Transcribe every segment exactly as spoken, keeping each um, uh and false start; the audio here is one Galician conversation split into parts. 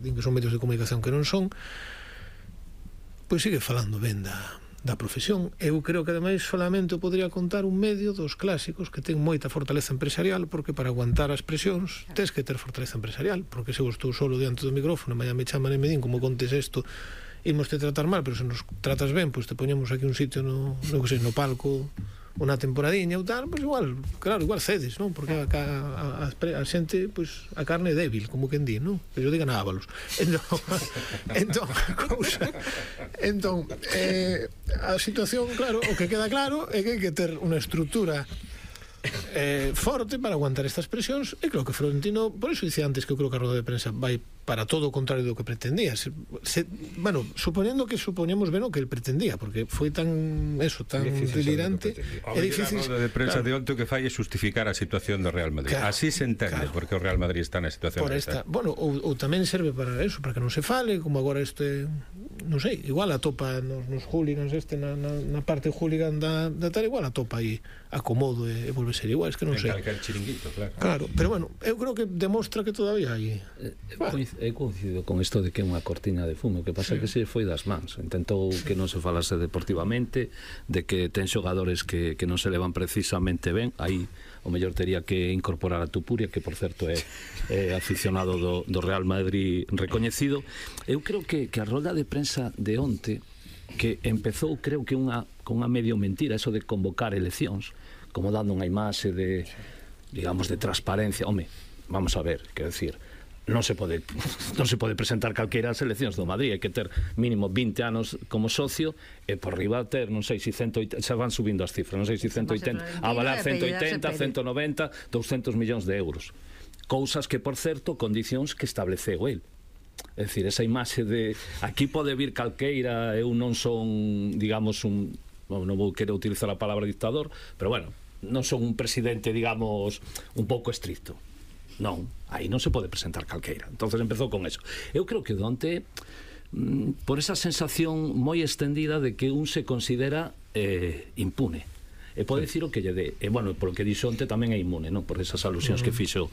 din que son medios de comunicación que non son, pois sigue falando ben da, da profesión. Eu creo que ademais solamente podría contar un medio dos clásicos que ten moita fortaleza empresarial, porque para aguantar as presións tens que ter fortaleza empresarial, porque se eu estou solo diante do micrófono, mañá me chaman e me din como contes isto, imos te tratar mal, pero se nos tratas ben, pois te poñemos aquí un sitio no, no que sei, no palco unha temporadiña ou tal, pois igual, claro, igual cedes, non? Porque a, a, a, a xente, pois, a carne é débil, como quen di, non? Que yo digan ábalos. Entón, entón, cousa, entón, eh, a situación, claro, o que queda claro é que hai que ter unha estrutura eh, forte para aguantar estas presións, e creo que Florentino, por iso dice antes que eu creo que a roda de prensa vai para todo o contrario do que pretendía. Se, se, bueno, supoñendo que supoñemos ben o que el pretendía, porque foi tan eso, tan delirante, é difícil. A roda de prensa claro. de onte o que fai é justificar a situación do Real Madrid. Claro, así se entende, claro. porque o Real Madrid está na situación por esta, bueno, ou, ou tamén serve para eso, para que non se fale, como agora este, non sei, igual atopa nos, nos hooligans este na, na, na parte hooligan da, da tal, igual atopa aí acomodo e, e volve a ser igual, es que non sei. Calcar chiringuito, claro. Claro, pero bueno, eu creo que demostra que todavía hai. Eh, bueno. Eu coincido con isto de que é unha cortina de fumo, que pasa sí. que se foi das mans, intentou que non se falase deportivamente, de que ten xogadores que, que non se levan precisamente ben, aí o mellor tería que incorporar a Tupuria, que por certo é, é aficionado do, do Real Madrid recoñecido. Eu creo que, que a rolda de prensa de onte, que empezou creo que unha, con unha medio mentira, eso de convocar eleccións, como dando unha imaxe de, digamos, de transparencia. Home, vamos a ver, quero decir, non se pode non se pode presentar calqueira as eleccións do Madrid, hai que ter mínimo vinte anos como socio e por riba ter, non sei se ciento oitenta, xa van subindo as cifras, non sei se ciento oitenta, avalar ciento oitenta, ciento noventa, doscientos millóns de euros. Cousas que, por certo, condicións que estableceu el. É dicir, esa imaxe de aquí pode vir calqueira, eu non son, digamos, un, non vou querer utilizar a palabra dictador, pero bueno, non son un presidente, digamos, un pouco estricto. Non, aí non se pode presentar calqueira. Entonces empezou con eso. Eu creo que onte, por esa sensación moi extendida de que un se considera eh, impune. E pode dicir o que lle dé. E, bueno, polo que dixo onte tamén é inmune, non? Por esas alusións que fixo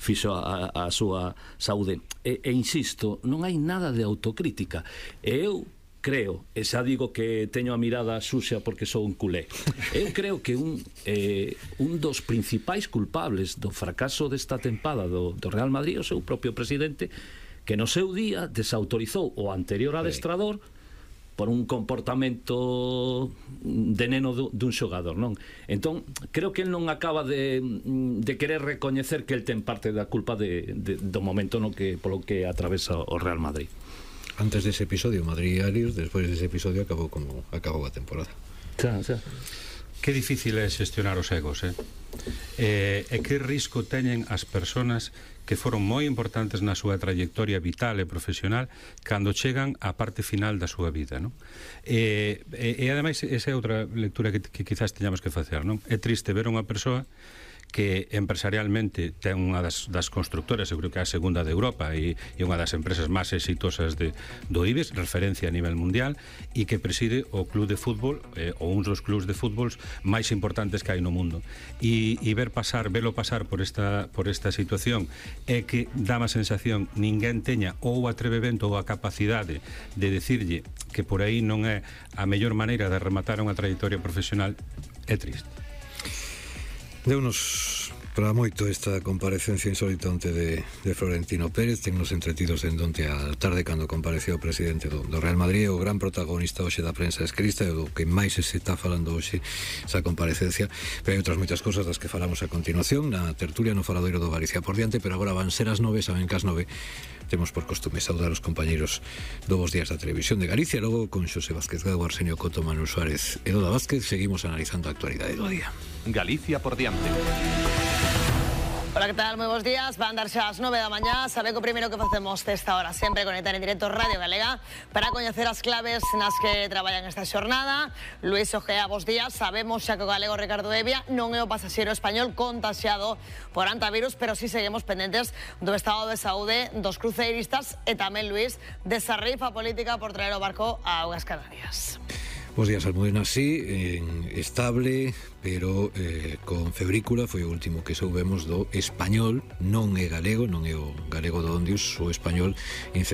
fixo a, a súa saúde. E, e insisto, non hai nada de autocrítica. E eu creo, e xa digo que teño a mirada sucia porque sou un culé, eu creo que un, eh, un dos principais culpables do fracaso desta tempada do, do Real Madrid é o seu propio presidente, que no seu día desautorizou o anterior adestrador por un comportamento de neno dun xogador, non? Entón, creo que el non acaba de, de querer recoñecer que el ten parte da culpa de, de, do momento no que, polo que atravesa o Real Madrid. Antes dese episodio Madrid Arios, despois dese episodio acabou como acabou a temporada. Xa, xa. Que difícil é xestionar os egos, eh? eh? E que risco teñen as persoas que foron moi importantes na súa trayectoria vital e profesional cando chegan á parte final da súa vida, non? E, e, e ademais, esa é outra lectura que, que quizás teñamos que facer, non? É triste ver unha persoa que empresarialmente ten unha das, das constructoras, eu creo que é a segunda de Europa e, e unha das empresas máis exitosas de, do I B E X, referencia a nivel mundial, e que preside o club de fútbol, eh, ou uns dos clubs de fútbol máis importantes que hai no mundo. E, e ver pasar, velo pasar por esta, por esta situación é que dá má sensación ninguén teña ou o atrevemento ou a capacidade de decirlle que por aí non é a mellor maneira de rematar unha trayectoria profesional. É triste. Deunos para moito esta comparecencia insólita onte de, de Florentino Pérez. Tennos entretidos en onte a tarde cando compareceu o presidente do, do Real Madrid, o gran protagonista hoxe da prensa escrita e do que máis se está falando hoxe esa comparecencia. Pero hai outras moitas cosas das que falamos a continuación na tertulia no faladoiro do Galicia por diante, pero agora van ser as nove, saben que as nove temos por costume saudar os compañeiros do Bos Días da Televisión de Galicia. Logo con Xosé Vázquez Gago, Arsenio Coto, Manuel Suárez e Doda Vázquez seguimos analizando a actualidade do día. Galicia por diante. Hola, que tal? Moi bons días. Van dar xa as nove da mañá. Sabe que o primeiro que facemos desta hora sempre conectar en directo Radio Galega para coñecer as claves nas que traballan esta xornada. Luís Ojea, bos días. Sabemos xa que o galego Ricardo Evia non é o pasaxeiro español contaxiado por antivirus, pero si sí seguimos pendentes do estado de saúde dos cruceiristas e tamén, Luís, desa rifa política por traer o barco a Augas Canarias. Bos días, Almudena, sí, en estable, pero eh, con febrícula, foi o último que soubemos do español, non é galego, non é o galego do onde o español infectado